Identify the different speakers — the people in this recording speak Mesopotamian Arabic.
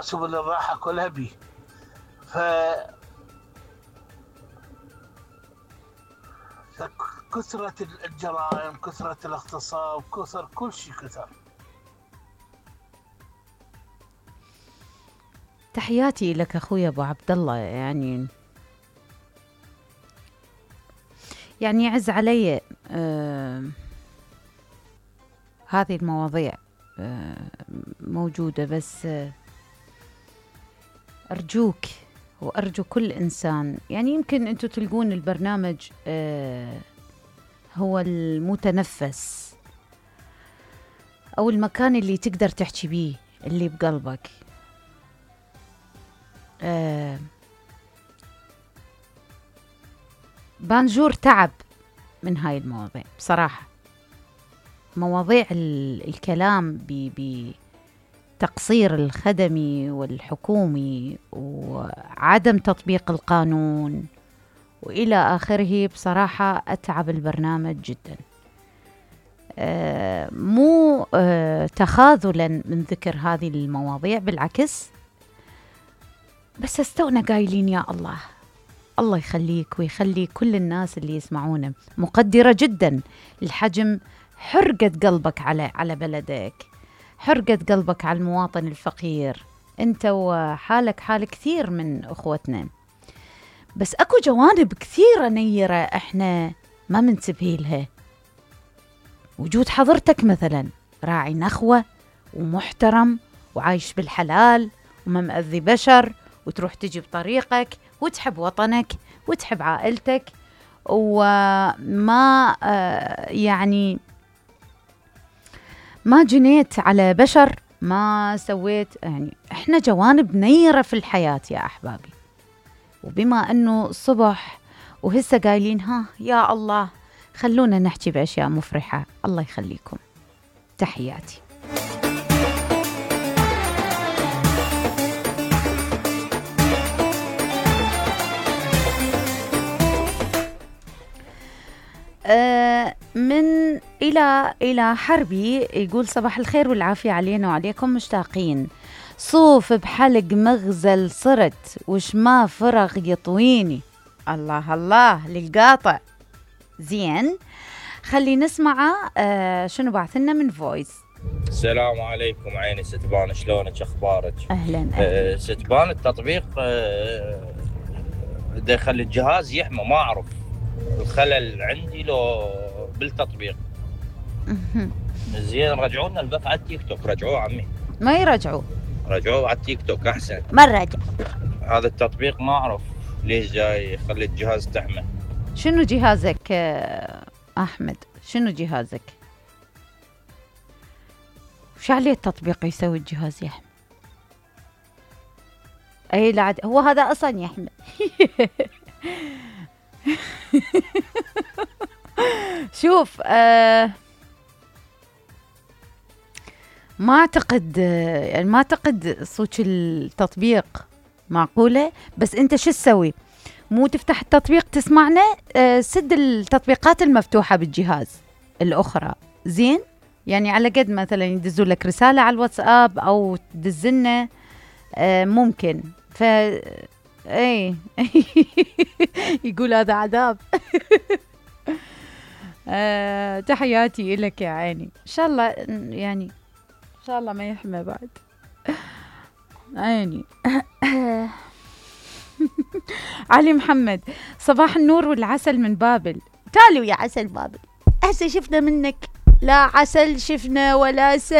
Speaker 1: سبل الراحة كلها بيه. ف كثرة الجرائم، كثرة الاغتصاب، كثر كل شيء كثر.
Speaker 2: تحياتي لك اخوي ابو عبد الله. يعني يعز علي هذه المواضيع موجودة، بس أرجوك وأرجو كل إنسان، يعني يمكن أنتوا تلقون البرنامج هو المتنفس أو المكان اللي تقدر تحكي بيه اللي بقلبك. بانجور تعب من هاي المواضيع بصراحة، مواضيع الكلام بتقصير الخدمي والحكومي وعدم تطبيق القانون وإلى آخره. بصراحة أتعب البرنامج جدا، مو تخاذلا من ذكر هذه المواضيع، بالعكس، بس استونا قايلين يا الله الله يخليك ويخلي كل الناس اللي يسمعونا. مقدرة جدا الحجم، حرقة قلبك على بلدك، حرقة قلبك على المواطن الفقير، انت وحالك حال كثير من اخوتنا، بس اكو جوانب كثيرة نيرة احنا ما منتبه لها. وجود حضرتك مثلا راعي نخوة ومحترم وعايش بالحلال وما مأذي بشر، وتروح تجي بطريقك وتحب وطنك وتحب عائلتك، وما يعني ما جنيت على بشر، ما سويت. يعني احنا جوانب نيرة في الحياة يا احبابي. وبما انه الصبح وهسه قايلين ها يا الله خلونا نحكي باشياء مفرحة، الله يخليكم. تحياتي. من إلى حربي يقول صباح الخير والعافية علينا وعليكم، مشتاقين. صوف بحلق مغزل صرت وش ما فرغ يطويني. الله الله للقاطع. زين، خلي نسمع شنو بعثنا من فويس.
Speaker 3: السلام عليكم عيني ستبان، شلونك اخبارك؟
Speaker 2: اهلا.
Speaker 3: ستبان التطبيق دا يخلي الجهاز يحمى، ما اعرف الخلل عندي لو بالتطبيق. زين رجعوا لنا البث على التيك توك، رجعوه عمي.
Speaker 2: ما يرجعوا،
Speaker 3: رجعوه على التيك توك احسن.
Speaker 2: ما رجع
Speaker 3: هذا التطبيق ما اعرف ليش جاي يخلي الجهاز تحمى.
Speaker 2: شنو جهازك احمد؟ شنو جهازك؟ وش عليه التطبيق يسوي الجهاز يحمى؟ اي لا هو هذا اصلا يحمى. شوف ما اعتقد، يعني ما اعتقد صوت التطبيق معقولة. بس انت شو تسوي؟ مو تفتح التطبيق تسمعنا، سد التطبيقات المفتوحة بالجهاز الأخرى. زين، يعني على قد مثلا يدزوا لك رسالة على الواتساب أو تدزلنا ممكن. اي يقول هذا عذاب. تحياتي لك يا عيني. ان شاء الله يعني ان شاء الله ما يحمى بعد عيني. علي محمد، صباح النور والعسل من بابل. تالوا يا عسل بابل، هسه شفنا منك لا عسل شفنا ولا سل.